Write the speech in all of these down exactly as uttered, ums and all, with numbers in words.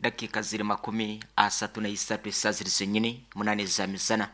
Dakika ziri makumi asatu na isatu, esaa ziri zenyini munane za misana,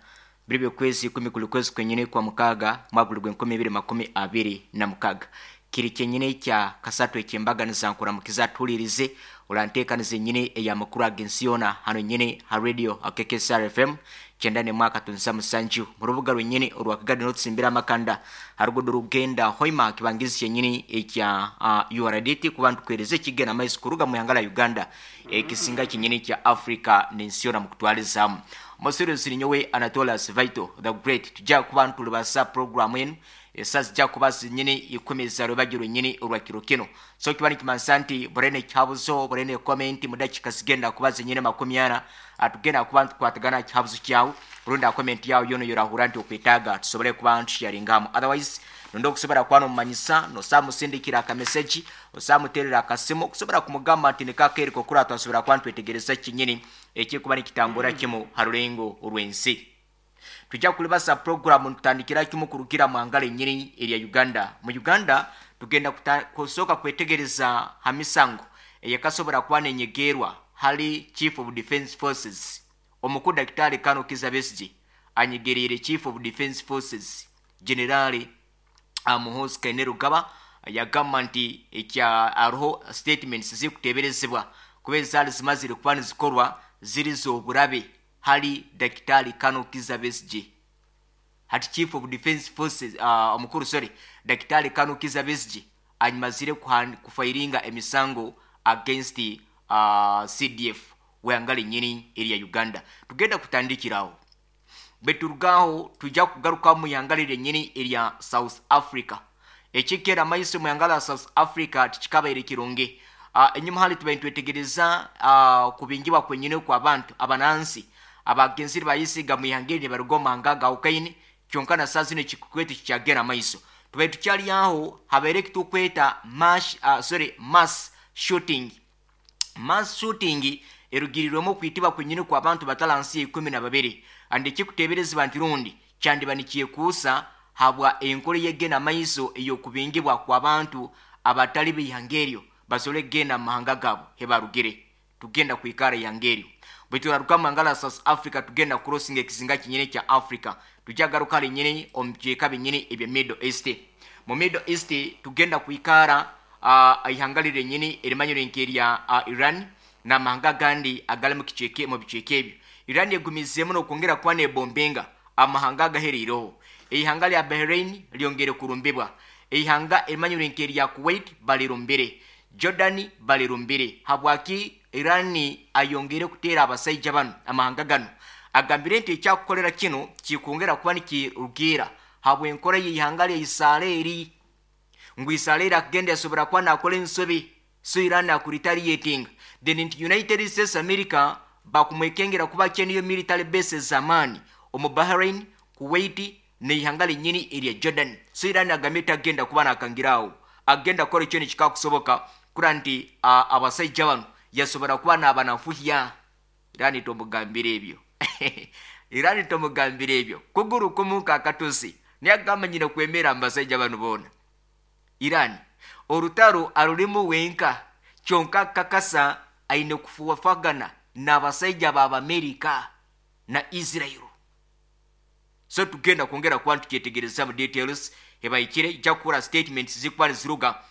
biri byokwezi ikumi kuli kwezi kwenyini kwa mukaga, mwaka guli gwenkumi ibiri makumi abiri na mukaga, kiri kyenyini kya kasatu ekyembaganiza. Nkuramukiza tuhulirize olanteekaniza enyini eyamakuru ag'ensi yoona hano nyini ha radio K K S R F M kyenda nemwaka tunza musanju, mu rubuga rwenyini orwa Kigali n'otusimbira amakanda harugudo rugenda Hoima, kibangizi kyenyini ekya uh, U R D T, kuba ntukwereza ekigenda maiso kuruga mu ihanga la Uganda, ekisinga kyenyini kya Africa n'ensi yoona mukutwalizaamu. Omusirizi nyowe Anatolas Vito the Great. Tujja kuba ntulibasa programu enu esa zijja kuba zinyini ikumi za rwebagyo lwenyini olwa kiro kino. So kiba nikimanisa nti burene ekihabuzo, burene comment, mu dakika zigenda kuba zinyini makumi ana atugenda kuba ntukwatagana kihabuzo kyawe rundi comment yawe yono yorahura nti okwetaaga tusobole kuba ntusharingamu. Otherwise nonda okusobora kuba nomumanyisa, nosamusindikira akameseji, osamuterera akasimu okusobora kumugamba nti nikakeriko okura twasobora kuba ntwetegereza kinyini ekikuba nikitambura kimu ha rulengo orw'ensi. Tujja kulibasa programu ntutandikira kimu kurugira mu ngalo enyini erya Uganda. Mu Uganda tugenda kuta- kusooka kwetegereza ha misango eyekasobora kuba nenyegerwa hali Chief of Defense Forces omukuru Dakitari Kano Kiza Besigye. Anyegereire Chief of Defense Forces Generali Muhoozi Kainerugaba, yagamba nti ekya hariho statements zikuteberezebwa kuba ezaali zimazire kuba nizikorwa ziri z'oburabe hali Dakitari Kano Kiza Besigye. Hati Chief of Defense Forces uh, omukuru, sorry, Dakitari Kano Kiza Besigye anyimazire kuhan- kufilinga emisango against uh, C D F wehanga linyini erya Uganda. Tugenda kutandikirawo. Bwe turugaho tujja kugaruka mu ihanga lyenyini erya South Africa. Ekikera amaiso mu ihanga lya South Africa tikikabaire kirungi. uh, enyuma hali tubaire nitwetegereza uh, kubingibwa kwenyini kw'abantu abanansi abagenzire bayisiga mu ihanga eri nibaruga omu mahanga gawukaine, kyonka na saa zino ekikweto kikyagenda amaiso. Tubaire tukyali aho, habaire ekitukweta mass, uh, sorry, mass shooting. Mass shooting erugirirwemu okwitibwa kwenyini kw'abantu batalansi ikumi na babiri, andi ekikuteeberezebwa nti rundi kyandiba nikyekuusa habwa enkola eyegenda amaiso ey'okubingibwa kw'abantu abatali b'ihanga eryo basobole kugenda mu mahanga gaabo hebarugire. Tugenda kwikara ihanga eryo. Bwe turaruka mu mahanga la South Africa, tugenda crossinga ekizinga kinyini kya Africa, tujagaruka linyini omu bicweka binyini ebya Middle East. Mu Middle East tugenda kwikara uh, ihanga lirenyini erimanyire nk'erya uh, Iran n'amahanga agandi agali mu kicweka, mu bicweka ebyo. Iran egumizeemu n'okwongera kuba nebombenga amahanga agahereireho. Eihanga lya Bahrain lyongere kurumbibwa, eihanga erimanyire nk'erya Kuwait balirumbire, Jordan balirumbire. Habwaki Iran ayongere kuteera abasaija bano amahanga gano? Agambire nti ekyakukolera kino kikwongera kuba nikirugiira habw'enkora y'eihanga lya Isiraeri, ngu Isiraeri akagenda yasobora kuba nakora ensobi, so Iran akuretaliatinga. Then nti United States America bakumwekengera kuba kyeniyo military bases z'amaani omu Bahrain, Kuwait n'eihanga linyini erya Jordan. So Iran agambye tagenda kuba nakangirawo, agenda kukora ekyo nikikakusoboka kura nti uh, abasaija bano yasobora kuba nabanafuhya. Iran tomugambira ebyo, Iran tomugambira ebyo, kuguru kumu kakatusi niye nyina kwemera mubasaija bano boona. Iran orutaro arulimu wenka, kyonka kakasa aine kufuwafagana n'abasaija b'Abamerika na Israel. So tugenda kwongera kuba ntukyetegereza mu details ebaikire ijja kukura statements zikuba niziruga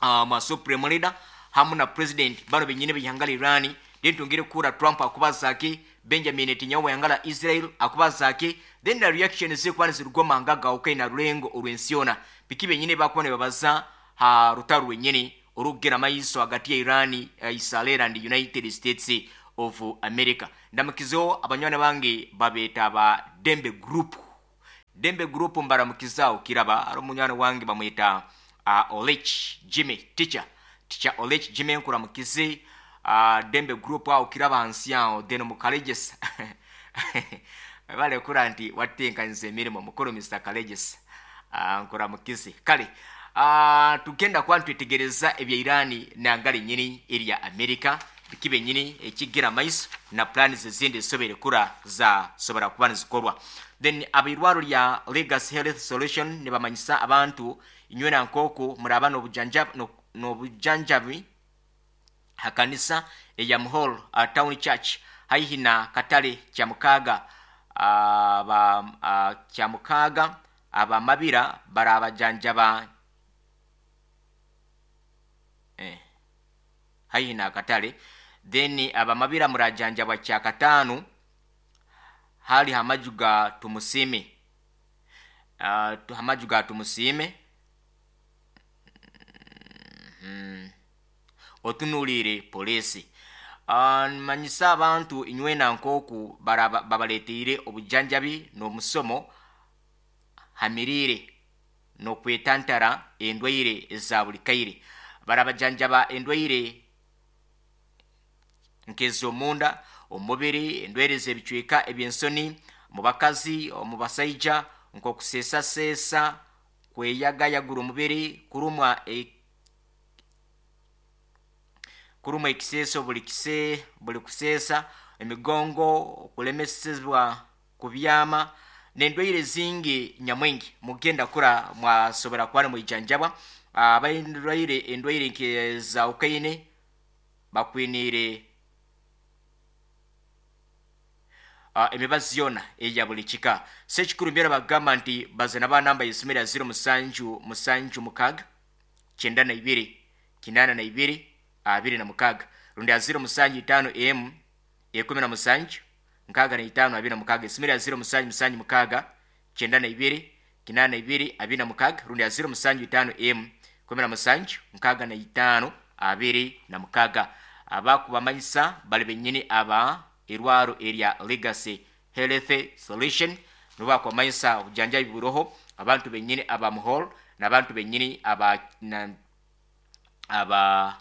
uh, ma supreme leader hamu na president bano benyini b'ihanga la Iran. Then twongere kukura Trump akubazaake, Benjamin Netanyahu w'ihanga la Israel akubazaake, then na reaction zikuba niziruga omu mahanga gawukaine na rulengo orw'ensi yoona, biki benyini bakuba nibabaza ha rutaro rwenyini orukugenda maiso hagati ya Iran, uh, Israel and United States of America. Ndamukizeho abanywani bange babeeta ba Dembe Group. Dembe Group mbaramukizaawo kiraba ari omunywani wange bamwita uh, Olech Jimmy, teacher teacher Olech Jimmy, nkuramukize uh, Dembe Group awo kiraba hansi awo. Then mukalegesa balekura nti watenkanyiza emirimu mukuru Mister Kalegesa, uh, nkuramukize. Kale uh, tugenda kuba ntwetegereza ebya Irani nanga linyini erya America, biki benyini ekigera maiso na plans ezindi ezisobere kura zasobora kuba nizikorwa. Then abirwaro lya Legacy Health Solution nibamanyisa abantu inywena nk'oku muraba n'obujanjabi n'obujanjabi. Hakanisa eya Muhol uh, Town Church haihi na katale Kyamukaga aba uh, Kyamukaga abamabira barabajanjaba eh, haihi na katale. Then abamabira murajanjabwa kyakatano hali hamaju ga Tumusime, uh, hamaju ga Tumusime mm -hmm. Otunulire polisi. Uh, manyisa abantu inywena nkoku babaleteire obujanjabi n'omusomo hamirire n'okwetantara endwaire eza buli kaire. Barabajanjaba endwaire nk'ez'omunda, omubiri, endwaire z'ebicweka eby'ensoni mu bakazi, omu basaija, nk'okuseesaseesa, kweyagayagura omubiri, kurumwa e kurumwa ekiseeso buli kise buli kuseesa, emigongo, okulemesebwa kubyama n'endwaire zingi nyamwingi. Mugenda kura mwasobora kuba nimwijanjabwa. Abaindwaire endwaire nk'eza ukaine bakwiniire uh, emibazi yona eya buli kika. Sekikuru mbyera bagamba nti bazana ba namba y'esimu ya ziro musanju musanju mukaga kyenda na ibiri kinana na ibiri abiri na mukaga rundi ya ziro musanju itano m ekumi na musanju nkaga na itano abiri na mukaga. Esimu ya ziro musanju musanju mukaga kyenda na ibiri kinana na ibiri abiri na mukaga rundi ya ziro musanju itano m kumi na musanju nkaga na itano abiri na mukaga. Abakubamanyisa bali benyini aba irwaro erya Legacy Health Solution nubakwamanyisa obujanjabi buroho abantu benyini aba Muhol n'abantu benyini aba na, aba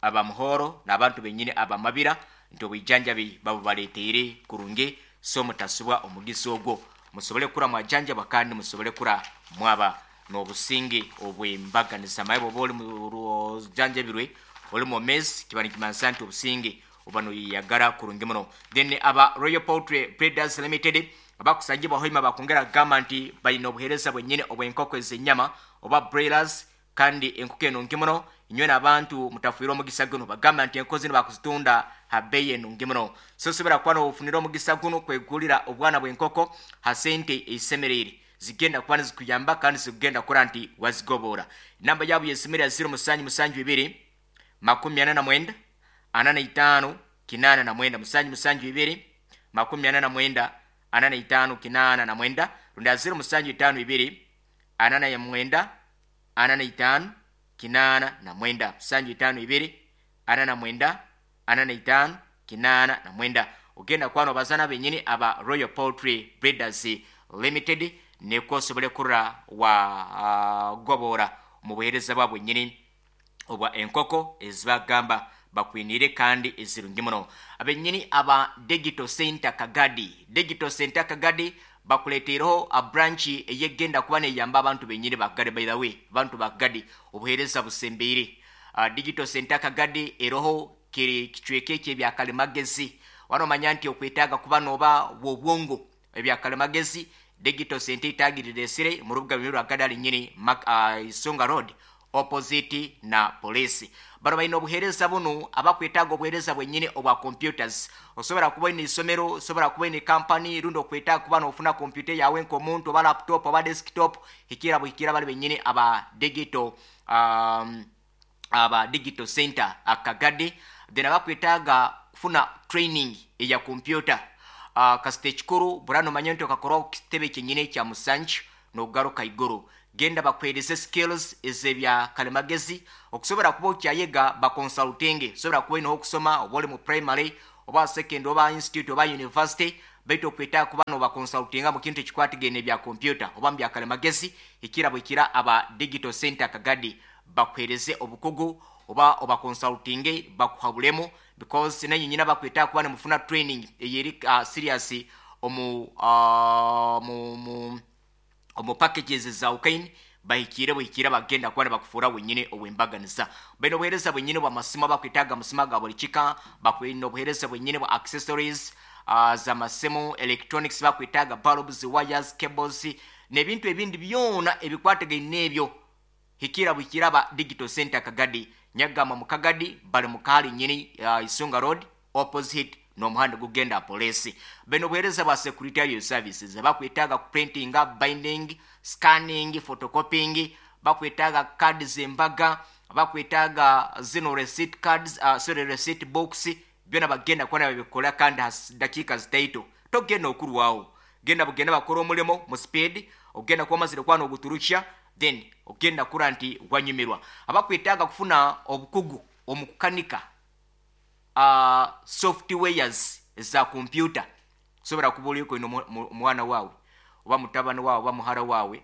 aba Muhoro n'abantu benyini aba Mabira nti obujanjabi babubaleteire kurungi, so mutasubwa omugisa ogwo musobole kura mwajanjaba kandi musobole kura mwaba n'obusinge obwembaganiza. Maye bwoba oli mujanjabirwe oli mwomezi kiba nikimanisa nti obusinge oba noyeyagala kurungi muno. Then aba Royal Poultry Breeders Limited abakusangibwa Hoima bakongera kugamba nti balina obuheereza bwennyini obw'enkoko ez'ennyama oba broilers, kandi enkoko enungi muno. Inywe n'abantu mutafuire omugisa guno, bagamba nti enkoko zino bakuzitunda ha bbeeyi enungi muno. So osobora kuba n'ofunira omugisa guno kwegulira obwana bw'enkoko ha sente ezisemereire zigenda kuba nizikuyamba kandi zigenda kukora nti wazigobora. Namba yabo y'esimu ya ziro musanju musanju ibiri makumi ana na mwenda ana na itano kinana na mwenda musanju musanju ibiri makumi ana na mwenda ana na itano kinana na mwenda rundi ya ziro musanju itano ibiri ana na mwenda ana na itano kinana na mwenda musanju itano ibiri ana na mwenda ana na itano kinana na mwenda. Ogenda kwano bazana benyini aba Royal Poultry Breeders Limited neko osobole kurra wa uh, gobora mu buheereza bwa bwenyini obwa enkoko ezibagamba bakwinire kandi ezirungi muno. Abenyini aba Digital Center Kagadi, Digital Center Kagadi bakuletereho a branch eyegenda kuba neyamba abantu benyini bakagadi. By the way, abantu bakagadi obuheereza busembeire. uh, Digital Center Kagadi eroho kiri kicweke eky'ebyakalimagezi. Wano manya nti okwetaaga kuba noba bwobwongo ebyakalimagezi Digital Center itagirire esire mu rubuga rwa Kagadi nyini uh, Isonga Road opposite na polisi. Bano balina obuheereza buno abakwetaaga obuheereza bwennyini obwa computers. Osobola kuba olina isomero, osobola kuba olina company rundi okwetaaga kuba n'ofuna computer yawe nk'omuntu oba laptop oba desktop, hikira buhikira bali bennyini aba digital um, aba Digital Center Akagadi. Then abakwetaaga kufuna training eya computer uh, kasita ekikuru burano manya nti okakora kitebe kyenyini ekya musanju n'ogaruka iguru. Genda bakwereze skills ez'ebya kalimagezi okusobola kuba okyayega bakonsultinge. Osobola kuba olina okusoma oba oli mu primary oba secondary oba institute oba university, baitu okwetaaga kuba nobakonsultinga mu kintu ekikwatagene ebya computer oba mu bya kalimagezi. Hikira bwikira aba Digital Center Kagadi bakuhereze obukugu oba obakonsultinge bakuhabulemu, because nanyu nyina bakwetaaga kuba nemufuna training eyeri uh, serious omu uh, mu, mu omu packages za ukaini bahikire buhikira bagenda kuba bakufuura wenyine obwembaganiza. Baina obuheereza bwenyine bwa masimu abakwetaaga amasimu ga buli kika, bakwina obuheereza bwenyine bwa accessories uh, za masimu, electronics, bakwetaaga bulbs, wires, cables n'ebintu ebindi byona ebikwatagaine n'ebyo. Hikira buhikira ba Digital Center Kagadi. Nyagama mu Kagadi bali mu kaali nyini uh, Isunga Road opposite n'omuhanda gugenda police. Beno buheereza bwa secretarial services, bakwetaaga kuprintinga, binding, scanning, photocopying, bakwetaaga cards embaga, bakwetaaga zino receipt cards, uh, sorry, receipt box, byona bagenda kuba babikola kandi has dakiika zitaito. Togenda okurwawo, genda bugenda bakora omulimo mu speed, ogenda kuba omazire kuba n'oguturukya, then ogenda kura nti wanyumirwa. Abakwetaaga kufuna obukugu omu kukanika uh, softwares za kompyuta, sobola kuba oliko ino omwana waawe oba mutabani waawe oba muhara waawe,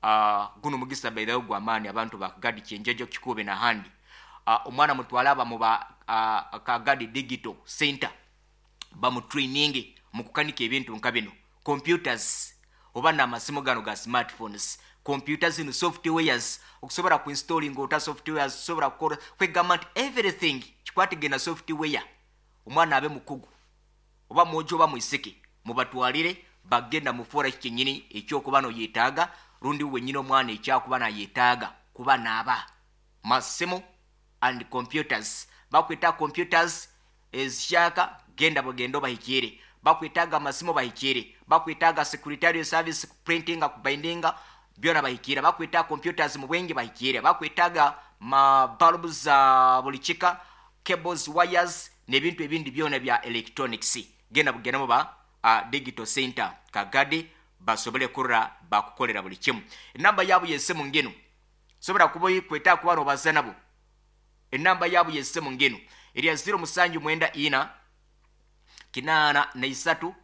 uh, guno mugisa bairayo gw'amaani abantu bakagadi Kyenjejo, Kikube n'ahandi. uh, omwana mutwale aba muba uh, Kagadi Digital Center bamutraininge mu kukanika ebintu nka bino, computers oba n'amasimu gano ga smartphones, computer zino softwares, okusobola kuinstalling ota softwares, osobola kukola kwegamba nti everything kikwatigenda software. Omwana abe mukugu oba mwojo oba mwisiki, mubatwalire bagenda mufuura kyenyini ekyokuba noyetaaga, rundi wenyini omwana ekyakuba nayetaaga kuba naaba masimu and computers. Bakwetaaga computers ezikyaka, genda bugenda obahikire. Bakwetaaga amasimu, bahikire. Bakwetaaga secretarial service, printinga, kubindinga, byona bahikire. Bakwetaaga computers mu bwingi, bahikire. Bakwetaaga ma bulbs za buli kika, cables, wires n'ebintu ebindi byona bya electronics, genda bugenda muba uh, Digital Center Kagadi basobole kurra bakukolera buli kimu. Enamba yaabo yesimu ngeno, sobola kuba kwetaaga kuba nobaza nabo. Enamba yaabo yesimu ngeno erya zero musanju mwenda ina kinaana na isatu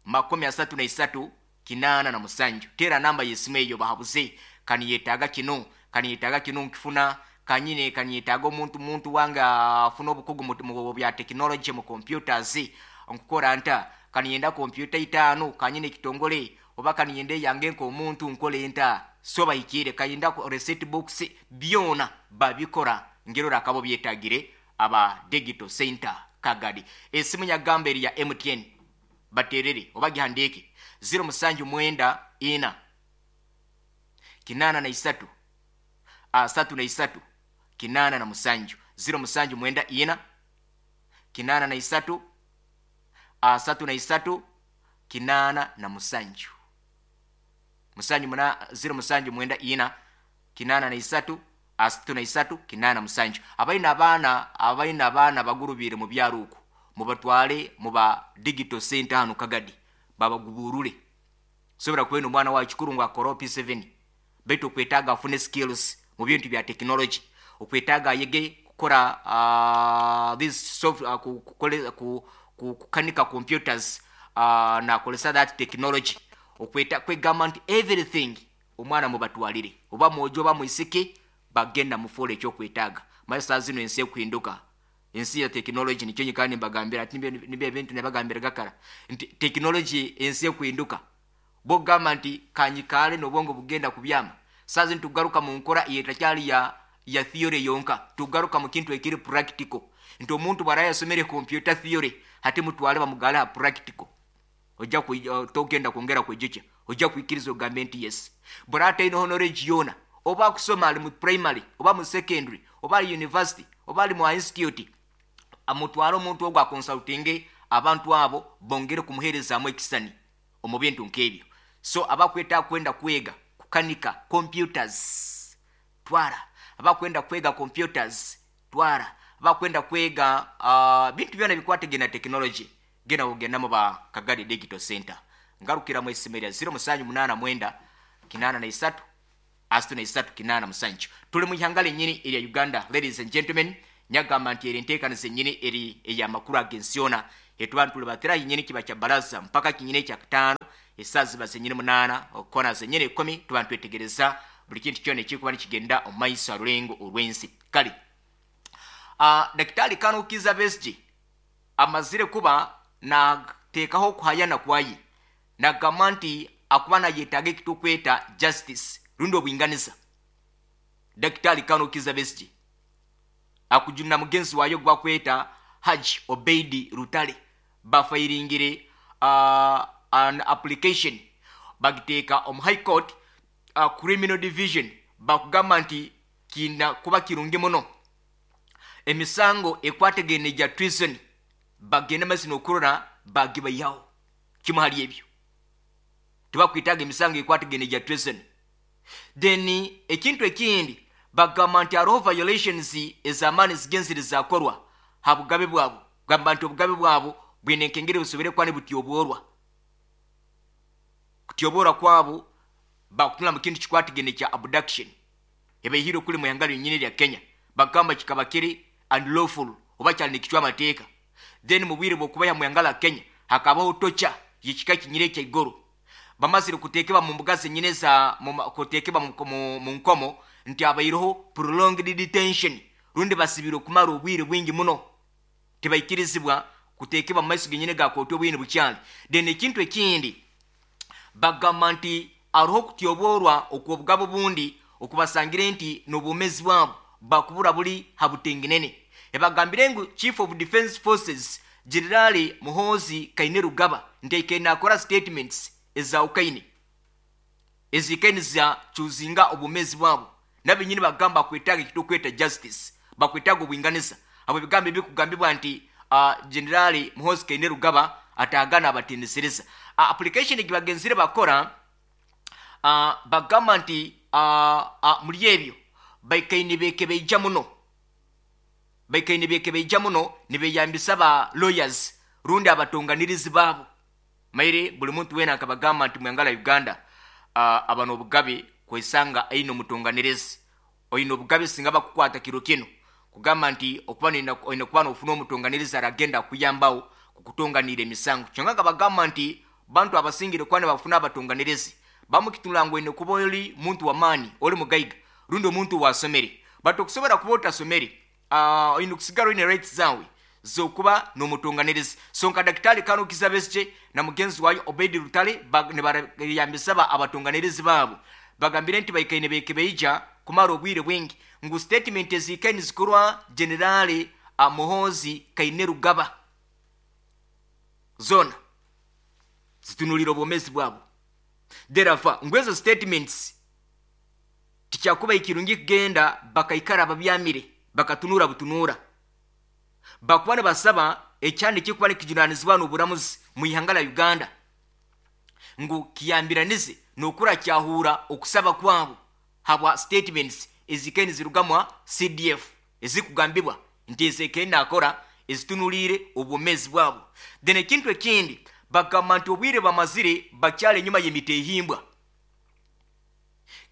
makumi asatu na isatu kinaana na musanju. Tera namba yesimu eyo bahabuze, kaniyetaaga kino, kaniyetaaga kino nkifuna kanyine, kaniyetaaga omuntu muntu wange afuna obukugu mu bya tekinologi mu computers, nkukora nta, kaniyenda kompyuta itaano kanyine ekitongole, oba kaniyenda eyange nk'omuntu nkole nta, so bahikire. Kayenda receipt books, byona babikora ngerora akabo byetagire aba Digital Center Kagadi. Esimu nyagamba eri ya M T N, baterere oba gihandike zero musanju mwenda ina kinaana na isatu asatu na isatu kinaana na musanju, zero musanju mwenda ina kinaana na isatu asatu na isatu kinaana na musanju, musanju muna zero musanju mwenda ina kinaana na isatu asatu na isatu kinaana musanju. Abalina abaana abalina abaana bagurubire mu byaro oku, mubatwale muba Digital Center hano Kagadi babaguburule. Sobola kubena omwana wa kikuru ngu akora P seven, baitu okwetaaga afune skills mu bintu bya technology, okwetaaga ayege kukora uh, this soft, uh, kukole, ku, ku, kukanika computers uh, nakolesa that technology, okweta kwegamba nti everything omwana mubatwalire oba mwojo oba mwisiki, bagenda mufuula ekyokwetaaga. Maye saa zino ensi ekuhinduka, ensi ya tekinologi, nikyo nyikara nimbagambira ati nibyo ebintu nabagambira gakara nti tekinologi ensi ekuhinduka. Bwogamba nti kanyikaale n'obwongo bugenda kubyama. Saa zino tugaruka mu nkora yetakyali ya ya theory yonka, tugaruka mu kintu ekiri practical, nti omuntu bwara yasomere computer theory, hati mutwale bamugale ha practical, ojja uh, togenda kwongera kwejukya, ojja kwikiriza ogambe nti yes. Bwara ataine knowledge yona, oba akusoma ali mu primary oba mu secondary oba ali university oba ali mu institute, amutwale omuntu ogwo akonsultinge abantu abo bongere kumuheerezaamu ekisani omu bintu nk'ebyo. So abakwetaaga kwenda kwega kukanika computers, twara. Abakwenda kwega computers, twara. Abakwenda kwega uh, bintu byona bikwatagana technology, genda ogendamu ba Kagadi Digital Center. Ngarukira mu esimu erya zero musanju munaana mwenda kinaana na isatu asatu na isatu kinaana musanju. Tuli mu ihanga lenyini erya Uganda, ladies and gentlemen. Nyagamba nti eri enteekaniza ennyini eri ey'amakulu ag'ensi yona etuba ntulibatira yenyini kiba kya baraza mpaka kinyini ekyakutaano, esaawa ziba zenyini munaana okukona zenyini ekumi, tuba ntwetegereza buli kintu kyona ekikuba nikigenda omu maiso alulengo olw'ensi. Kale uh, Dakitari Kano Kiza Besigye amazire kuba nateekaho okuhayana kwaye, nagamba nti akuba nayetaaga ekitukweta justice rundi obwinganiza. Dakitari Kano Kiza Besigye akujuna mugenzi wayo gwakweta Haji Obeidi Rutale, bafayiringire uh, an application bagiteeka omu High Court uh, Criminal Division. Bakugamba nti kiina kuba kirungi muno emisango ekwategene gya treason bagenda maiso n'okurora bagibayihaho. Kimu hali ebyo, tibakwitaga emisango ekwategene gya treason. Then ekintu ekindi bagamba nti hariho violations ez'amaani zigenzire zakorwa ha bugabe bwabo. Gamba nti obugabe bwabo bwine enkengere busobere kuba nibutyoborwa. Kutyoborwa kwabo bakutunula mu kintu kikwatigene kya abduction ebaihire kuli mu ihanga lyonyini lya Kenya. Bagamba kikaba kiri unlawful oba kyali nikicwa amateeka. Then mu bwire bw'okubaiha mu ihanga lya Kenya hakabaho tocha yekika kinyire ekyaigoro. Bamazire kuteekebwa mu mbuga zenyine za kuteekebwa mu, mu nkomo nti abaireho prolonged detention, rundi basibire okumara obwire bwingi muno, tibaikirizibwa kuteekebwa mu maiso genyine ga kooti obwine bukyali. Then ekintu ekindi bagamba nti hariho okutyoborwa okw'obugabo bundi okubasangire nti n'obwomezi bwabo bakubura buli habutengenene. Ebagambire ngu Chief of Defense Forces General Muhoozi Kainerugaba nti aikaire nakora statements ezawukaine ezikaine za chuzinga obwomezi bwabo. Nabenyini bagamba bakwetaaga ekitukweta justice, bakwetaaga obwinganiza. Abo ebigambo ebikugambibwa nti uh, General Muhoozi Kainerugaba atagana abatendesereza. Uh, application gibagenzire bakora, uh, bagamba nti uh, uh, muri ebyo baikaine bekebeija muno, baikaine bekebeija muno nibeyambisa ba lawyers rundi abatonganirizi baabo. Maire buli muntu wena akabagamba nti mwangala Uganda uh, abano obugabe kwesanga aine omutonganirizi oine obugabe singa bakukwata kiro kino kugamba nti okuba oine kuba nofuna omutonganirizi aragenda kuyambawo kukutonganira emisango. Kyonka akabagamba nti bantu abasingire kuba nibafuna abatonganirizi bamukitula ngu oine kuba oli muntu w'amaani, oli mugaiga rundi omuntu wasomere. But okusobora kuba otasomere, uh, oine kusigara oine rights zawe zokuba n'omutonganirizi. So nka Daktari Kano Kizza Besigye na mugenzi wayo Obedi Lutale nibarayambisa abatonganirizi baabo. Bagambire nti baikaine bekebeija kumara obwire bwingi ngu statement ezikaine zikorwa General Muhoozi Kainerugaba zona zitunulira obwomezi bwabo. Therefore ngu ezo statements tikyakuba ikirungi kugenda bakaikara babyamire bakatunura butunura. Bakuba nibasaba ekyandi kikuba nikijunanizibwa n'oburamuzi mu ihanga lya Uganda ngu kiyambiranize n'okura kyahura okusaba kwabo habwa statements ezikaine zirugamwa C D F ezikugambibwa nti ezikaine nakora ezitunulire obwomezi bwabo. Then ekintu ekindi bagamba nti obwire bamazire bakyali enyuma y'emitehimbwa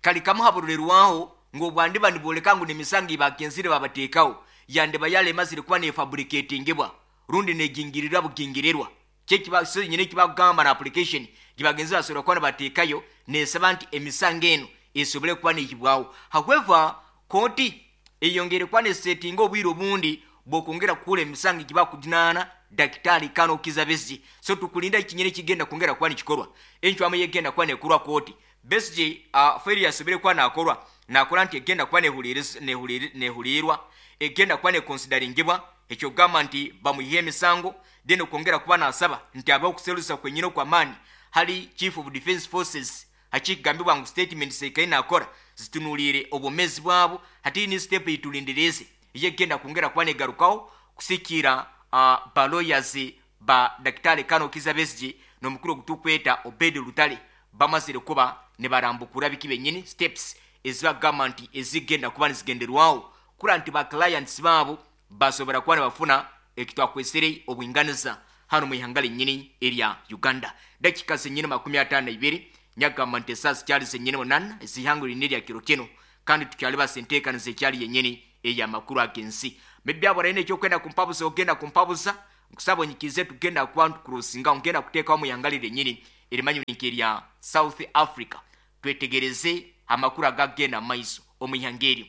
kali kamuhabururirwaho ngo obwandiba niboleka ngu n'emisango ibagenzire babateekaho yande bayale mazire kuba nefabricatingibwa rundi negingirira bugingirirwa. Kyekiba so nyine kibagamba na application gibagenzi basobora kuba nibateekayo nesaba nti emisango eno esobole kuba nehibwaho. However kooti eyongere kuba nesetinga obwire obundi bwokongera kukula emisango gibakujunana Daktari Kano Kizza Besigye. So tukulinda ekinyere kigenda kwongera kuba nikikorwa encwamu yegenda kuba nekorwa kooti. Besigye uh, failure yasobere kuba nakorwa nakora nti egenda kuba nehulirirwa egenda kuba nekonsideringibwa ekyo gamba nti bamuyihe emisango. Then okwongera kuba nasaba nti abaho okuserusa kwenyine kwa maani hali Chief of Defense Forces hakigambibwa ngu statement sekaine nakora zitunulire obwomezi bwabo. Hati ni step itulindireze yegenda kwongera kuba negarukaho kusikira uh, ba lawyers ba Daktari Kano Kizza Besigye n'omukuru ogutukweta Obedi Lutale bamazire kuba nibarambukura biki benyini steps ezibagamba nti ezigenda kuba nizigenderwaho kura nti ba clients baabo basobora kuba nibafuna ekitwakwesere obwinganiza hano mu ihanga lyenyini erya Uganda. Dakika zenyini makumi ataano na ibiri nyagamba nti esaaha zikyali zenyini munana ezihanga lyenyini erya kiro kino kandi tukyali basenteekaniza ekyali yenyini ey'amakuru ag'ensi. Mebyabora ekyokwenda kumpabuza ogenda kumpabuza nkusaba onyikize tugenda kuba ntukurusinga ngenda kuteekawo mu ihanga lyenyini erimanyi erya South Africa twetegereze amakuru agagenda maiso omu ihanga eryo.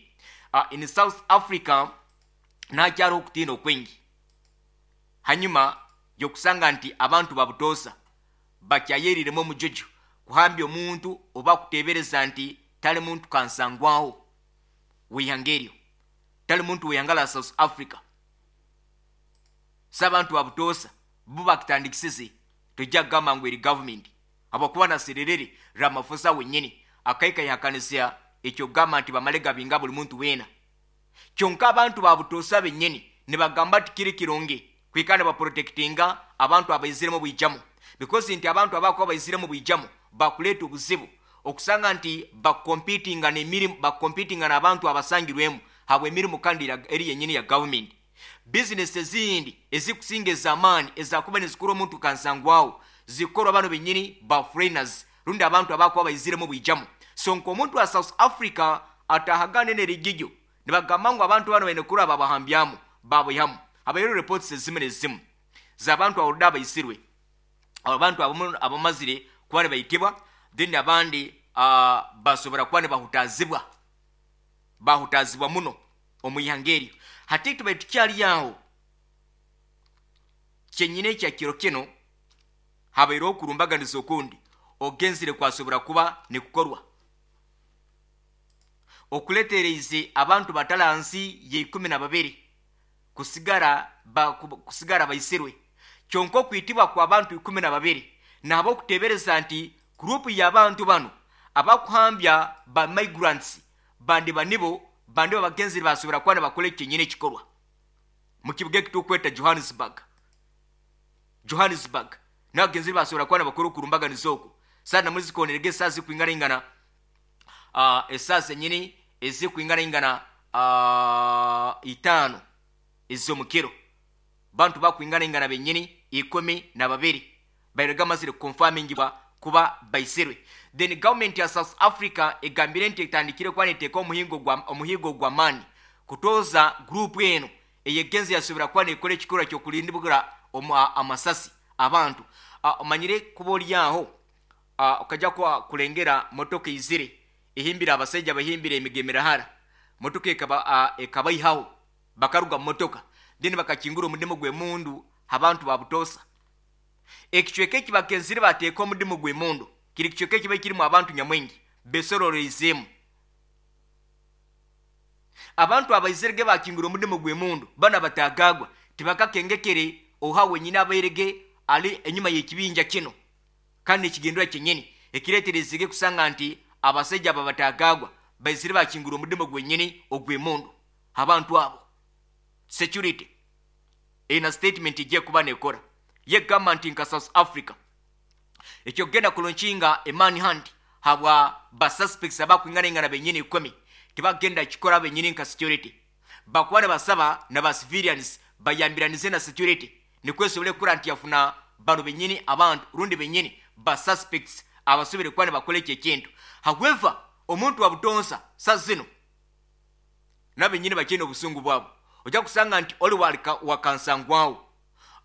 Uh, in South Africa nakyaliho okutiina okwingi hanyuma yokusanga nti abantu babutosa bakyayeriremu omujojo kuhambya omuntu oba kutebereza nti tali muntu kansangwaho w'ihanga eryo, tali muntu w'ihanga la South Africa. Si abantu babutosa bo bakitandikisize tojja kugamba ngu eri government habwokuba na Cyril Ramaphosa wenyini akaika yahakanisa Ekyokugamba nti bamale gabinga buli muntu weena. Kyonka abantu babutosa bennyini nibagamba nti kiri kirungi kwikara nibaprotectinga abantu abaiziremu bwijamu, because nti abantu abakuba baiziremu bwijamu bakuleeta obuzibu okusanga nti bakompitinga n'emirimu, bakompitinga n'abantu abasangirwemu habw'emirimu kandi eri yennyini ya gavumenti. Bizinesi ezindi ezikusinga ez'amaani ezakuba nizikora omuntu kansangwawo zikorwa bano bennyini ba foreigners rundi abantu abakuba baiziremu bwijamu. So nk'omuntu wa South Africa atahagane n'erigijo nibagamba ngu abantu bano baine kuraba babahambyamu babaihamu. Habaire reports ezimu n'ezimu z'abantu abolda abaisirwe, abantu abamazire kuba nibaitibwa, then abandi uh, basobora kuba nibahutazibwa, bahutazibwa muno omu ihanga eryo. Hati tubaire tukyali aho kyenyine ekya kiro kino habaireho okurumbaganiza okundi ogenzire kwasobora kuba nikukorwa okuletereize abantu batalansi yeikumi na babiri kusigara ba, kusigara baisirwe. Kyonka okwitibwa kwa bantu ikumi na babiri nabo okutebereza nti gurupu y'abantu bano abakuhambya ba migrants bandi banibo bandi babagenzi basobora kuba nibakora ekyenyine ekikorwa mu kibuga ekitukweta Johannesburg. Johannesburg n'abagenzi basobora kuba nibakora okurumbaganiza okwo. Sana muzikonerege esaaha zikwinganaingana uh, esaaha zenyini ezikwinganaingana uh, itaano ez'omukiro bantu bakwinganaingana benyini ikumi na babiri bairega amazire confirmingibwa kuba baisirwe. Then government ya South Africa egambire nti etandikire kuba neteeka omuhingo gwa omuhigo gwa maani kutoza group eno eyegenzi yasobora kuba nekora ekikorwa ky'okulindibura amasasi abantu. Uh, omanyire kuba oli aho uh, okajja kuba kulengera motoka izire ehimbire abasajja bahimbire emigemerahara motoka ekaba uh, ekabaihaho bakaruga mu motoka then bakakingura omudimu gw'emundu abantu babutosa. Ekicweka eki bakenzire bateeka omudimu gw'emundu kiri kicweka ekiba kirimu abantu nyamwingi besororeizemu. Abantu abaizirege bakingura omudimu gw'emundu bana batagagwa tibakakengekere oha wenyine abairege ali enyuma y'ekibinja kino kandi ekigendera kyenyini ekireeterezege kusanga nti abasajja aba batagagwa baizire bakingura omudimu gwenyini ogw'emundu abantu abo. Security ina statement ejja kuba nekora yegamba nti nka South Africa ekyo kugenda kulonkinga a manhunt habwa ba suspects abakwinganaingana benyini ikumi tibagenda kikora benyini nka security bakuba nibasaba na ba civilians bayambiranize na security nikwo esobole kukora nti yafuna bano benyini abantu rundi benyini ba suspects abasobere kuba nibakora ekyo ekintu. However, omuntu wa butonsa sa zino nabenyini bakyine obusungu bwabo ojja kusanga nti oli wakansangwawo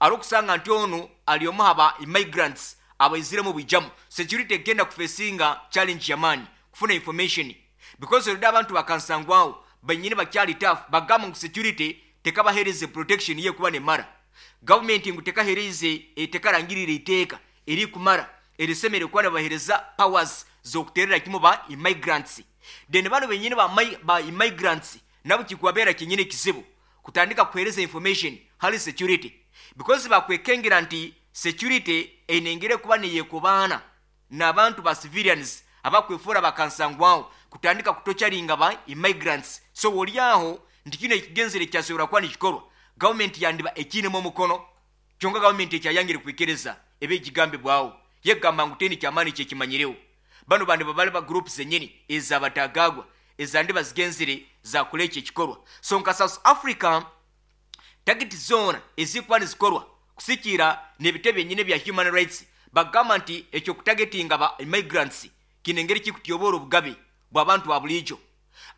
ari okusanga nti ono ali omu haba immigrants abaiziremu bwijamu. Security egenda kufesinga challenge yamaani kufuna information because olidde abantu bakansangwawo benyini bakyali tough bagamba ngu security tekabahereze protection ye kuba nemara. Government ngu tekahereze tekarangirira iteeka eri kumara erisemere kuba nibahereza powers z'okuterera kimu ba immigrants. Then bano benyini ba, ba immigrants nabo kikubabeera kyenyini ekizibu kutandika kuhereza information hali security because bakwekengera nti security enengere kuba neyekubaana n'abantu ba civilians abakwefura bakansangwawo kutandika kutocharinga ba immigrants. So oli aho nti kino ekigenzere kyasobora kuba nikikorwa government yandiba ekinemu omukono kyonka government ekyayangire kwikiriza ebe ekigambibwawo yegamba ngu teni kyamaani kyekimanyirewo. Bano bandi babali ba groups zenyini ezabatagagwa ezandiba zigenzere zakora ekyo ekikorwa. So nka South Africa target zona ezikuba nizikorwa kusikira n'ebitebe byenyini bya human rights bagamba nti ekyo kutagetinga ba immigrants kinengeri kikutyobora obugabe bw'abantu ba bulijo.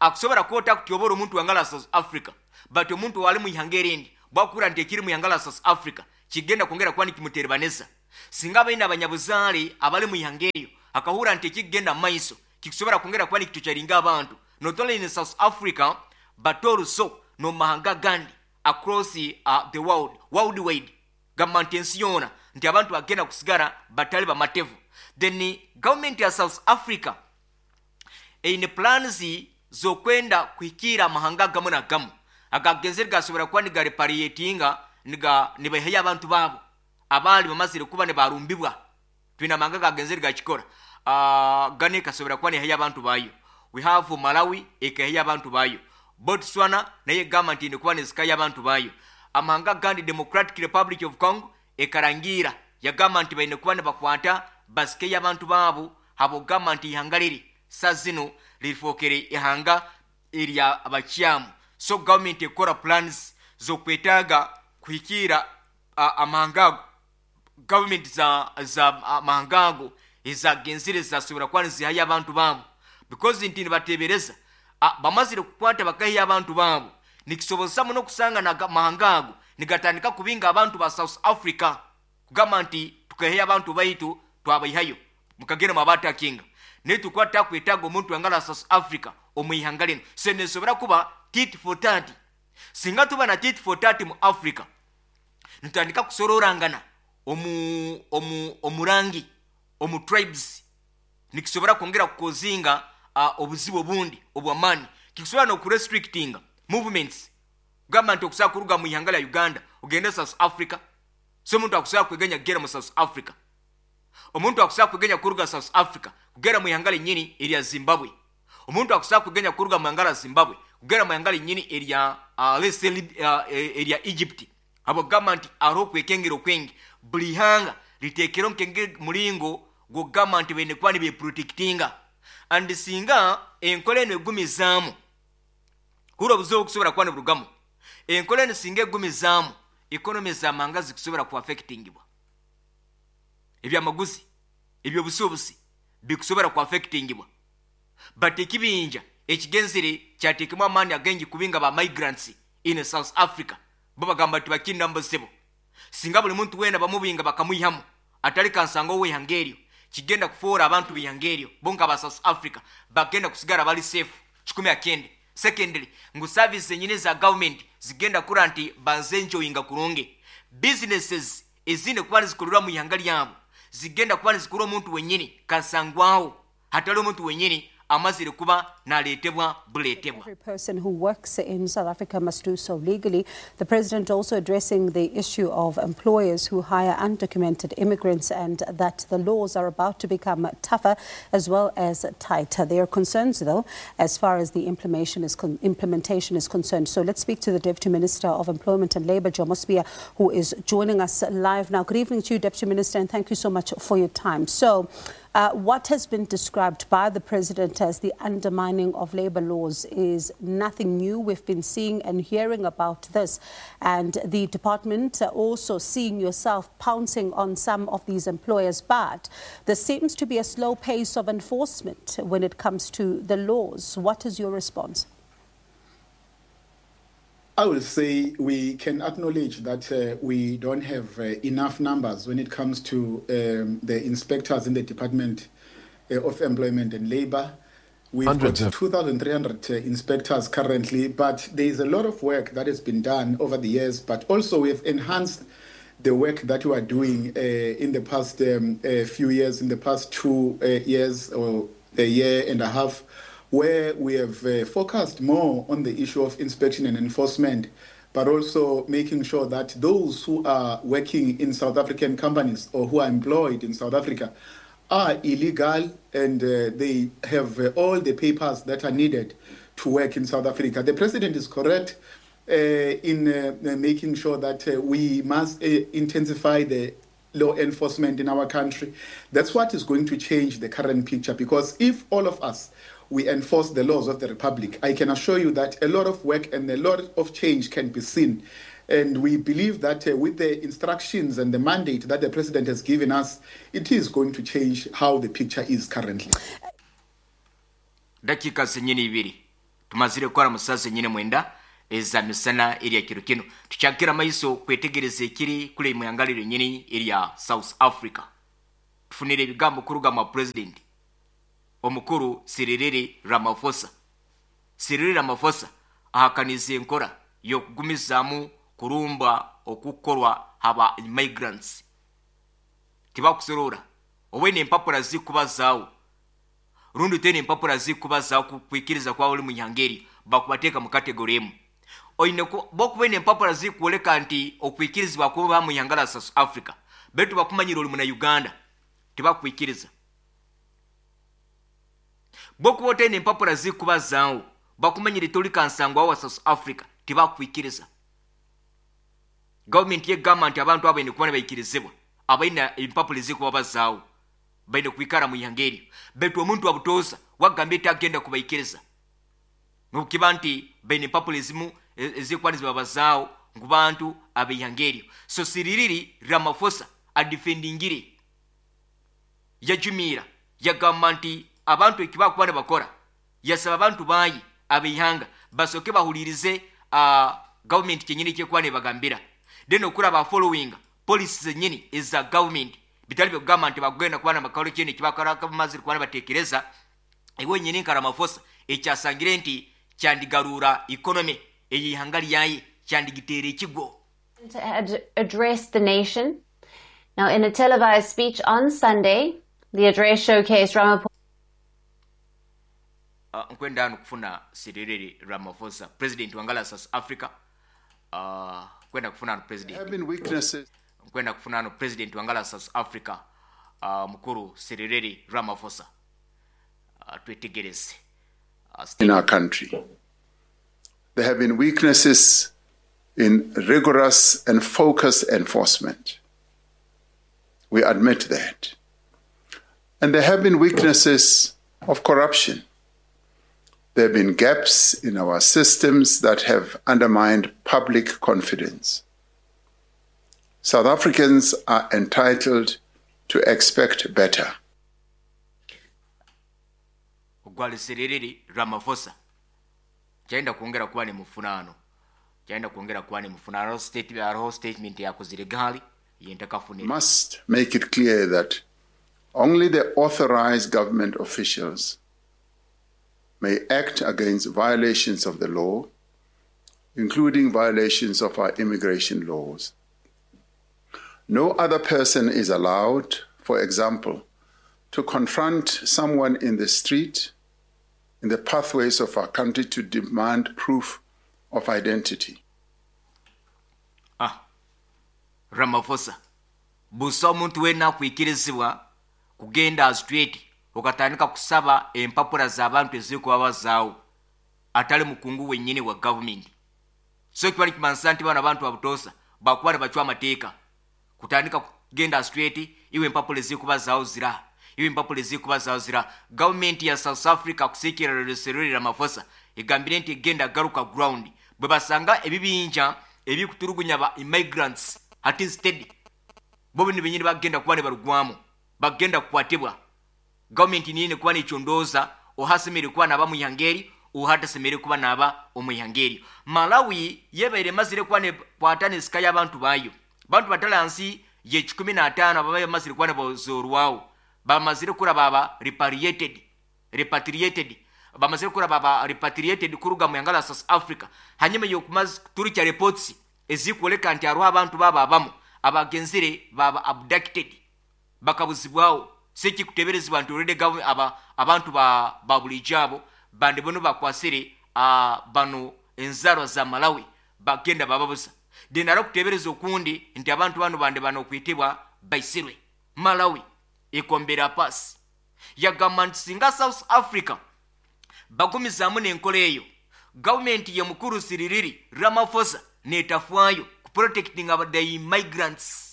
Akusobora kuba kutyobora omuntu wangala South Africa but omuntu wali mu ihanga erindi bwakura nti ekiri mu ihanga la South Africa kigenda kwongera kuba nikimuterebaneza. Singa abaine abanyabuzaale abali mu ihanga eryo akahura nti ekigenda mu maiso kikusobora kwongera kuba nikitucharinga abantu not only in South Africa but also no mahanga gandi across uh, the world worldwide gamba nti ensi yoona nti abantu bagenda kusigara batali bamatevu. Then government ya South Africa eine plans z'okwenda kuhikira amahanga gamu na gamu agagenzere gasobora kuba nigareparietinga niga nibaihayo abantu baabo abali bamazire kuba nibarumbibwa. Twine amahanga gagenzere gakikora uh, gane kasobora kuba nihayo abantu bayo. We have Malawi ekahiya abantu bayo, Botswana naye egamba nti nekuba nezikayo abantu bayo. Amahanga gandi, Democratic Republic of Congo ekarangira yagamba nti baine kuba nibakwata basikeyo abantu baabo, habwokugamba nti ihanga liri sa zino lirifookere ihanga erya abakyamu. So gavumenti ekora plans zokwetaaga kuhikiira amahanga ago. Gavumenti za za amahanga ago ezagenzire zasobora kuba nizihayo abantu baabo, because nti nibatebereza bamazire kukwata bakahiya abantu baabo, nikisobozesa muno kusanga na mahanga ago nigatandika kubinga abantu ba South Africa, kugamba nti tukaheya abantu baitu twabaihayo mukagenda mwabatakinga, naye tukwata kwetaaga omuntu angala South Africa omwihanga lino. So nesobora kuba tit for tat. Singa tuba na tit for tat mu Africa, nitandika kusororangana omu omu omurangi omu tribes, nikisobora kwongera kukozinga uh, obuzibu obundi obw'amaani. Kikisobora n'okurestrictinga movements, kugamba nti okusobola kuruga mu ihanga lya Uganda ogende South Africa. So omuntu akusobola kwegenya kugera mu South Africa, omuntu akusobola kwegenya kuruga South Africa kugera mu ihanga lyennyini erya Zimbabwe, omuntu akusobola kwegenya kuruga mu ihanga lya Zimbabwe kugera mu ihanga lyennyini erya uh, let's say, uh, erya Egypt. Habwokugamba nti hariho okwekengera okwengi, buli ihanga liteekere nkenge mulingo gwokugamba nti baine kuba nibeprotectinga. And singa enkola eno egumizaamu, hura obuzibu obukusobora kuba niburugamu. Enkola eno singa egumizaamu, economy z'amahanga zikusobora kuaffectingibwa, ebyamaguzi ebyobusuubuzi bikusobora kuaffectingibwa. But ekibinja ekigenzere kyateekemu amaani agengi kubinga ba migrants in South Africa, bo bagamba nti bakinda mubuzibu. Singa buli muntu wena bamubinga bakamwihamu atali kansanga ow'eihanga eryo, kigenda kufuura abantu b'ihanga eryo bo nka ba South Africa bagenda kusigara bali safe kikumi akende. Secondly, ngu service zenyini za government zigenda kura nti banze enjoyinga kurungi. Businesses ezine kuba nizikorerwa mu ihanga lyabo zigenda kuba nizikora omuntu wenyini kansangwaho, hatali omuntu wenyini amazire kuba naleetebwa buleetebwa. Every person who works in South Africa must do so legally. The president also addressing the issue of employers who hire undocumented immigrants and that the laws are about to become tougher as well as tighter. There are concerns, though, as far as the implementation is, con implementation is concerned. So let's speak to the Deputy Minister of Employment and Labour, Jomo Sibiya, who is joining us live now. Good evening to you, Deputy Minister, and thank you so much for your time. So, Uh, what has been described by the president as the undermining of labor laws is nothing new. We've been seeing and hearing about this, and the department also seeing yourself pouncing on some of these employers. But there seems to be a slow pace of enforcement when it comes to the laws. What is your response? I will say we can acknowledge that uh, we don't have uh, enough numbers when it comes to um, the inspectors in the Department uh, of Employment and Labor. We've Hundreds got of two thousand three hundred uh, inspectors currently, but there is a lot of work that has been done over the years, but also we have enhanced the work that we are doing uh, in the past um, uh, few years, in the past two uh, years or a year and a half, where we have uh, focused more on the issue of inspection and enforcement, but also making sure that those who are working in South African companies or who are employed in South Africa are illegal and uh, they have uh, all the papers that are needed to work in South Africa. The president is correct uh, in uh, making sure that uh, we must uh, intensify the law enforcement in our country. That's what is going to change the current picture, because if all of us, we enforce the laws of the Republic, I can assure you that a lot of work and a lot of change can be seen. And we believe that uh, with the instructions and the mandate that the president has given us, it is going to change how the picture is currently. Dakika zenyini ibiri tumazire kukora musaza nyine mwenda eza misana erya kiro kino, tukyakira maiso kwetegereza ekiri kule muyangaliro nyini erya South Africa. Tufunire ebigambo kuruga mwa president omukuru Cyril Ramaphosa. Cyril Ramaphosa ahakaniza enkora y'okugumizaamu kurumba okukorwa haba migrants. Tibakusorora obwene empapura zikuba zaawo, rundi tene empapura zikuba zaawo kukwikiriza kwawe ori munyangeri bakubateeka mu kategori emu. Oine bokuba empapura zikuoleka nti okwikirizibwa kuba mu ihanga la South Africa, betu bakumanyira ori muna Uganda tibakwikiriza. Bwokuba otaine empapura zikubazaawo bakumanyire toli kansangwa wa South Africa tibakwikiriza. Gavumenti yegamba nti abantu abo baine kuba nibaikirizibwa abaine empapura ezikubabazaawo baine kwikara mu ihanga eryo, baitu omuntu wabutoosa wagambye tagenda kubaikiriza nokukiba nti baine empapura ezimu ezikuba nizibabazaawo ngu bantu ab'eihanga eryo. So Cyril Ramaphosa adefendingire yajumiira yagamba nti abantu ekibakuba nibakora, yasaba abantu bayi ab'eihanga basooke bahulirize uh, gavumenti kyenyini ekyekuba nebagambira, then okuraba following policies zenyini eza gavumenti bitali byokugamba nti bagenda kuba namakalo kyene ekibakora bamazire kuba nibateekereza. Iwe nyini nka Ramaphosa ekyasangire nti kyandigarura economy ey'ihanga lyaye kyandigiteera ekigo. Had addressed the nation. Now, in a televised speech on Sunday, the address showcased Ramaphosa. Uh, nkwenda hano kufuna Cyril Ramaphosa president wangala South Africa. Uh, kwenda kufuna hano president. Have been weaknesses. Nkwenda kufuna hano president wangala South Africa uh, mukuru Cyril Ramaphosa. Uh, twetegereze. Uh, in our country, there have been weaknesses in rigorous and focused enforcement. We admit that. And there have been weaknesses of corruption. There have been gaps in our systems that have undermined public confidence. South Africans are entitled to expect better. Ogwali Cyril Ramaphosa chaenda kuongera kuba ni mufunano chaenda kuongera kuba ni mufunano state hariho statement yakozire gali yentakafunira. Must make it clear that only the authorized government officials may act against violations of the law, including violations of our immigration laws. No other person is allowed, for example, to confront someone in the street, in the pathways of our country, to demand proof of identity. Ah, Ramaphosa, busa omuntu wena akwikirizibwa kugenda street okatandika kusaba empapura z'abantu ezikubabazaawo atali mukungu wennyini wa gavumenti. So kibali kimansa nti bano abantu abutosa bakuba ne bacwa amateeka kutandika kugenda straight iwe empapula ezikubazaawo zira iwe empapula ezikubazaawo zira. Gavumenti ya South Africa kusiikirira Cyril Ramaphosa egambire nti egenda garuka ground bwe basanga ebibinja ebikuturugunya ba immigrants ati instead bo bino bennyini bagenda kuba ne barugwamu bagenda kukwatibwa. Gavumenti niyine kuba nekyondooza ohasemere kuba naba muihangeri ohatasemere kuba naba omuihangeri. Malawi yebaire emazire kuba nekwata nesika y'abantu bayo bantu batalansi ye kikumi n'ataano ababaye bamazire kuba nebazoorwawo bamazire kuraba aba repatriated repatriated bamazire kuraba aba repatriated kuruga mu ihanga la South Africa hanyuma y'okumaze kuturukya reports ezikwoleka nti hariho abantu baba abamu abagenzire baba abducted bakabuzibwawo. Sekikuteberezebwa nti already government aba abantu ba ba bulijjo abo bandi bono bakwasire uh, bano enzarwa za Malawi bagenda bababusa. Then arakutebereza okundi nti abantu bano bandi bano okuyitibwa baisirwe. Malawi ekombera pasi yagamba nti singa South Africa bagumizaamu n'enkola eyo gavumenti ye mukuru Cyril Ramaphosa netafaayo ku protecting the immigrants.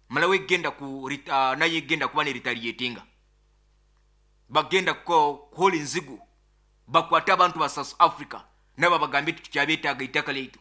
Malawi egenda ku uh, naye egenda kuba ne retaliatinga bagenda kuhola enzigu bakwate abantu ba South Africa nabo bagambe tukyabeetaaga ettaka lyaitu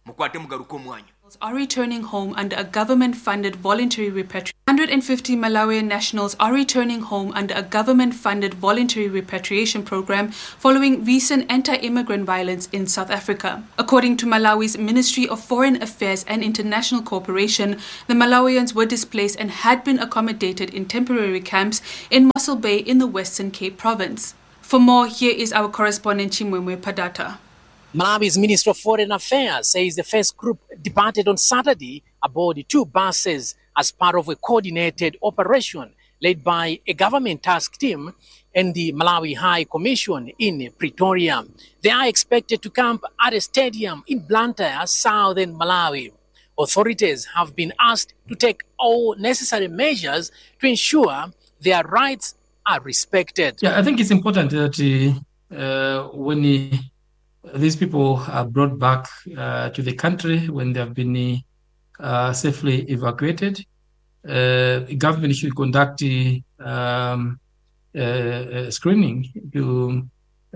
mukwate mugaruke omwanya. Are returning home under a government-funded voluntary repatriation. one hundred fifty Malawian nationals are returning home under a government-funded voluntary repatriation program following recent anti-immigrant violence in South Africa. According to Malawi's Ministry of Foreign Affairs and International Cooperation, the Malawians were displaced and had been accommodated in temporary camps in Mossel Bay in the Western Cape Province. For more, here is our correspondent Chimwemwe Padata. Malawi's Minister of Foreign Affairs says the first group departed on Saturday aboard two buses as part of a coordinated operation led by a government task team and the Malawi High Commission in Pretoria. They are expected to camp at a stadium in Blantyre, southern Malawi. Authorities have been asked to take all necessary measures to ensure their rights are respected. Yeah, I think it's important that uh, when uh, these people are brought back uh, to the country, when they have been uh, safely evacuated, uh, government should conduct um, uh, screening to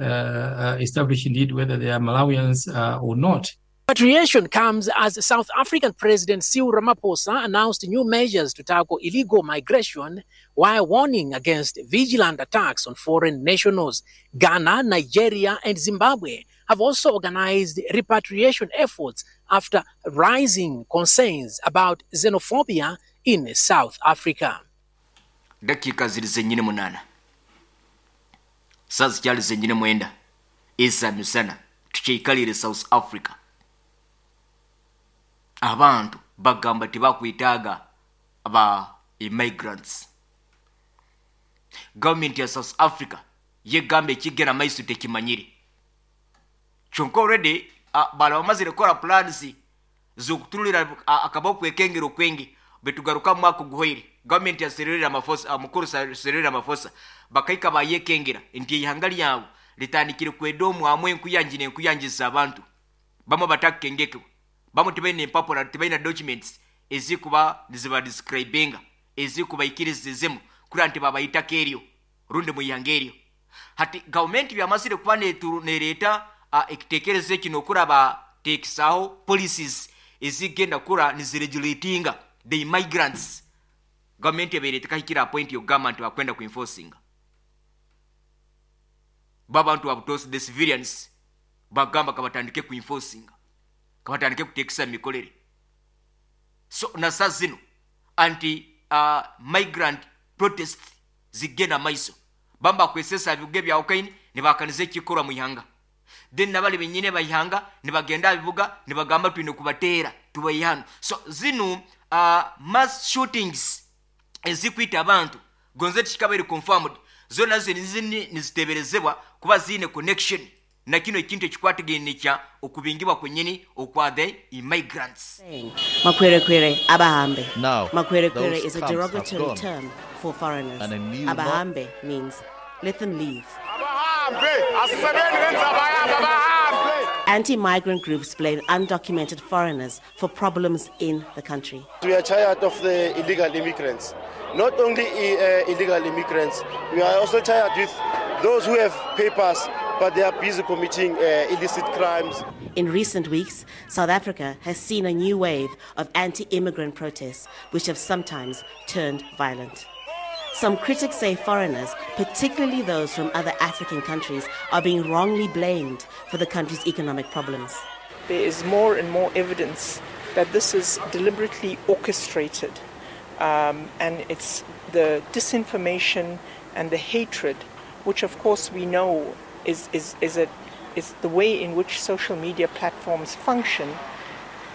uh, establish indeed whether they are Malawians uh, or not. Repatriation comes as South African President Cyril Ramaphosa announced new measures to tackle illegal migration while warning against vigilant attacks on foreign nationals. Ghana, Nigeria, and Zimbabwe have also organized repatriation efforts after rising concerns about xenophobia in South Africa. Dakika ziri zenyine munana saa zikyali zenyine mwenda eza misana tukyikalire South Africa. Abantu bagamba tebakwetaaga ba immigrants. Government ya South Africa yegamba ekigenda maiso tekimanyire. Kyonka already uh, bala bamazire kukora plans z'okutulira akaboko ekengero kwengi betugaruka mwaka guhoire. Government ya Cyril Ramaphosa, mukuru Cyril Ramaphosa bakaika bayekengera nti ihanga lyabo litandikire kwedomu amwe enkuyanji n'enkuyanjiza abantu bamwe batakengekebwa, bamwe tebalina empapula, tebalina documents ezikuba niziba describinga ezikubaikirizizimu kura nti babayitako eryo rundi mu ihanga eryo. Hati gavumenti byamazire kuba nereeta ekitekerezo kino okuraba tekisaho policies ezigenda kura niziregulatinga the immigrants. Gavumenti ebeire tekahikira point yokugamba nti bakwenda kuenforcinga babantu babutosi the civilians bagamba kabatandike kuenforcinga, kabatandike kutekisa mikolere. So nasa zino anti uh, migrant protest zigenda maiso bamba kwesesa bibuga bya Ukraine nibakanize ekikorwa mu ihanga, then nabali benyine bayihanga nibagenda bibuga nibagamba twine kubateera tubayihano. So zino uh, mass shootings ezikwita abantu gonze tikabere confirmed zona zini niziteberezebwa kuba zine connection na kino ekintu ekikwatagene kya okubingibwa kwenyini okwa the immigrants. Makwerekwere abahambe. Now, Makwerekwere those is a camps have derogatory gone. term for foreigners. And a new Abahambe means let them leave. Anti-migrant groups blame undocumented foreigners for problems in the country. We are tired of the illegal immigrants. Not only uh, illegal immigrants, we are also tired with those who have papers, but they are busy committing uh, illicit crimes. In recent weeks, South Africa has seen a new wave of anti-immigrant protests, which have sometimes turned violent. Some critics say foreigners, particularly those from other African countries, are being wrongly blamed for the country's economic problems. There is more and more evidence that this is deliberately orchestrated, um, and it's the disinformation and the hatred, which of course we know is, is, is, a, is the way in which social media platforms function,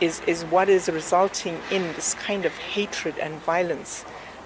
is, is what is resulting in this kind of hatred and violence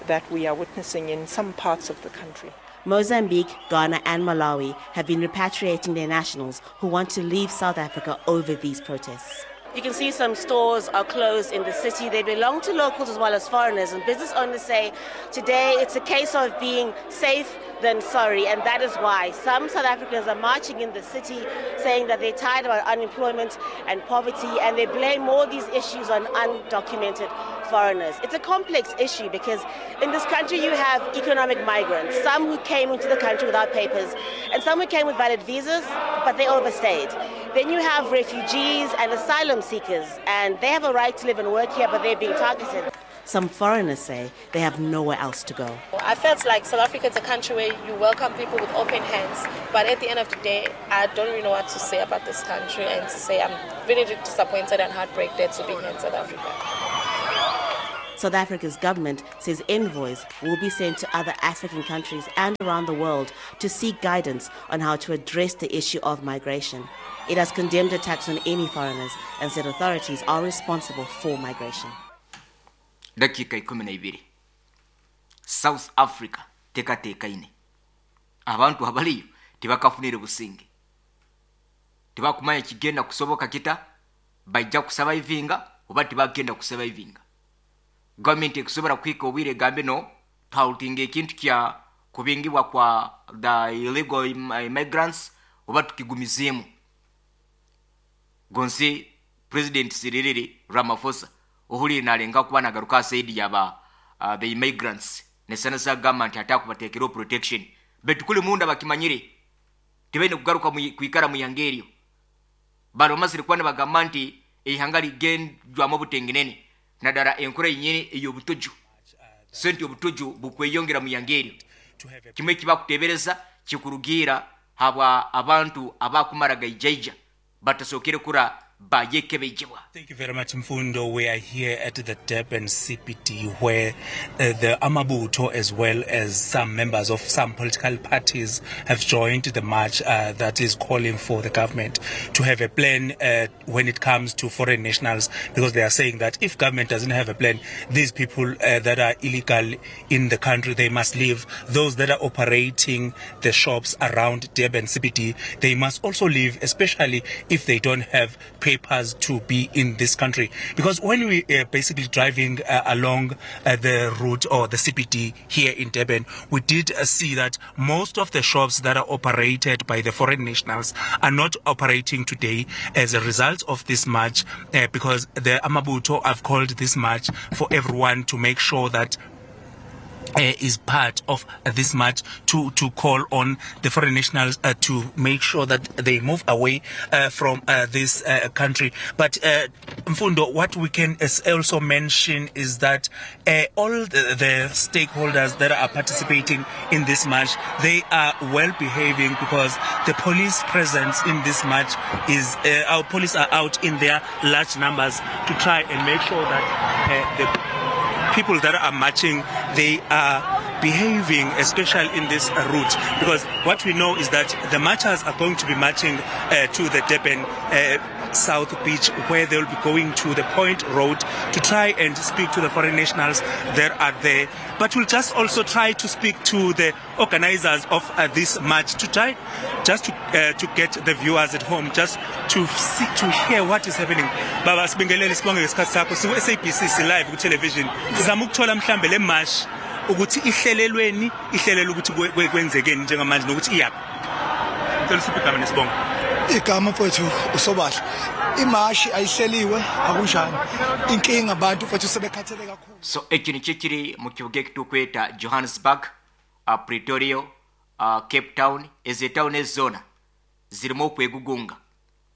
that we are witnessing in some parts of the country. Mozambique, Ghana and Malawi have been repatriating their nationals who want to leave South Africa over these protests. You can see some stores are closed in the city. They belong to locals as well as foreigners, and business owners say today it's a case of being safe than sorry, and that is why some South Africans are marching in the city saying that they're tired about unemployment and poverty, and they blame all these issues on undocumented foreigners. It's a complex issue because in this country you have economic migrants, some who came into the country without papers and some who came with valid visas, but they overstayed. Then you have refugees and asylum seekers, and they have a right to live and work here, but they're being targeted. Some foreigners say they have nowhere else to go. I felt like South Africa is a country where you welcome people with open hands, but at the end of the day, I don't really know what to say about this country and to say I'm really disappointed and heartbroken to be here in South Africa. South Africa's government says envoys will be sent to other African countries and around the world to seek guidance on how to address the issue of migration. It has condemned attacks on any foreigners and said authorities are responsible for migration. Dakika ikumi na ibiri South Africa tekateekaine abantu abaliyo tebakafunire businge, tebakumanya kigenda kusoboka kita, bajja kusurvivinga oba tebagenda kusurvivinga. Gavumenti ekusobola kuhika obwire egambe no twautinga ekintu kya Kubingibwa kwa the illegal immigrants oba tukigumizeemu? Gonsi President Cyril Ramaphosa ohulire nalenga kuba nagaruka side yaba uh, the immigrants, nesanasa agamba nti ate akubateekeraho protection, betu kuli munda bakimanyire tibaine kugaruka kwikara mu ihanga eryo. Bano bamazire kuba nibagamba nti eihanga ligendwamu obutengenene naddala enkora yenyini ey'obutuju, so nti obutuju bukweyongera mu ihanga eryo. Kimwe ekibakutebereza kikurugiira habwa abantu abakumara gaijaija batasookere kura bayekebejebwa. Thank you very much, Mfundo. We are here at the Durban C B D, where uh, the Amabutho, as well as some members of some political parties, have joined the march uh, that is calling for the government to have a plan uh, when it comes to foreign nationals, because they are saying that if government doesn't have a plan, these people uh, that are illegal in the country, they must leave. Those that are operating the shops around Durban C B D, they must also leave, especially if they don't have papers to be in this country. Because when we are basically driving uh, along uh, the route or the C B D here in Durban, we did uh, see that most of the shops that are operated by the foreign nationals are not operating today as a result of this march, uh, because the Amabutho have called this march for everyone to make sure that uh, is part of uh, this march to, to call on the foreign nationals uh, to make sure that they move away uh, from uh, this uh, country. But uh, Mfundo, what we can also mention is that uh, all the, the stakeholders that are participating in this march, they are well behaving, because the police presence in this march is, uh, our police are out in their large numbers to try and make sure that uh, the people that are marching, they are behaving, especially in this route, because what we know is that the marchers are going to be marching uh, to the Durban uh, South Beach, where they'll be going to the Point Road to try and speak to the foreign nationals that are there. But we'll just also try to speak to the organizers of uh, this march to try just to, uh, to get the viewers at home just to see, to hear what is happening. Baba, sibingelele, sibonge ngesikhathi sakho. Siku S A B C, si live ku television. Sizama ukuthola mhlambe le march ukuthi ihlelelweni, ihlelele ukuthi kwenzekeni njengamanje nokuthi iyaphi. Ngicela usiphe igama nesibongo. Igama, mfowethu, uSobahle. Imashi ayihleliwe, akunjani. Inkinga abantu, mfowethu, sebekhathele kakhulu. So ekyo nikyo kiri mu kibuga ekitukweta Johannesburg, uh, Pretoria, uh, Cape Town. Ezo etawuni ezoona zirimu okwegugunga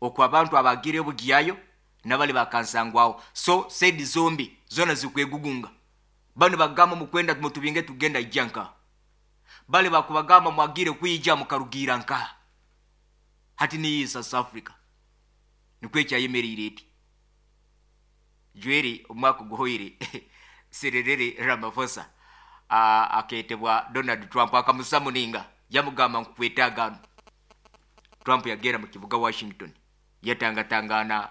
okwo abantu abagire obugiyayo nabali bakansangwawo. So side zombi zona zikwegugunga. Bano bagamba mukwenda mutubinge tugenda ijja nka bale bakubagamba mwagire kwija mukarugira nka hati niyi South Africa nikwo ekyayemereire eti. Jweri omwaka oguhoire Cyril Ramaphosa uh, aketebwa Donald Trump akamusamuninga, yamugamba nkukwetagano. Trump yagenda mu kibuga Washington yatangatangana,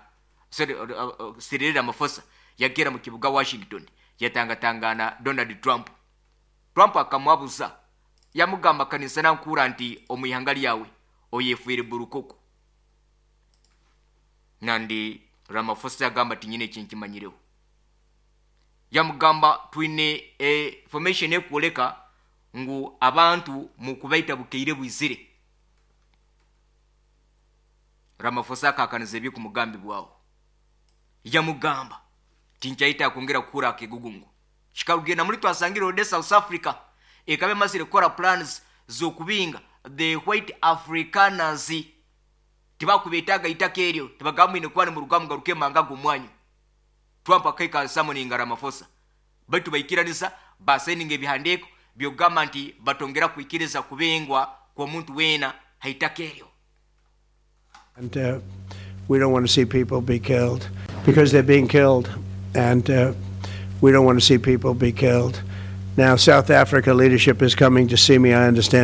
sorry, uh, uh, Cyril Ramaphosa yagenda mu kibuga Washington yatangatangana Donald Trump. Trump akamwabuza, yamugamba kanisa nankura nti omu ihanga lyawe oyefuire burukoko. Nandi Ramaphosa yagamba ti nyine ekinkimanyireho. Yamugamba twine e, information ekwoleka ngu abantu mukubaita bukeire bwizire. Ramaphosa akakaniza ebyokumugambi bwawo, yamugamba tinchaita kwongera kukura akegugungu. Kikarugenda muri twasangire ode South Africa ekaba emazire kukora plans z'okubinga the white Afrikaners, tibakubetaga itaka eryo, tibagamba mwine kuba nimuruga mugaruke manga g'omwanyu. Trump akaika summoninga Ramaphosa, baitu baikiranisa basayininga ebihandiiko byokugamba nti batongera kwikiriza kubengwa kw'omuntu weena haitaka eryo. And uh, we don't want to see people be killed because they're being killed. And uh, we don't want to see people be killed. Now, South Africa leadership is coming to see me, I understand.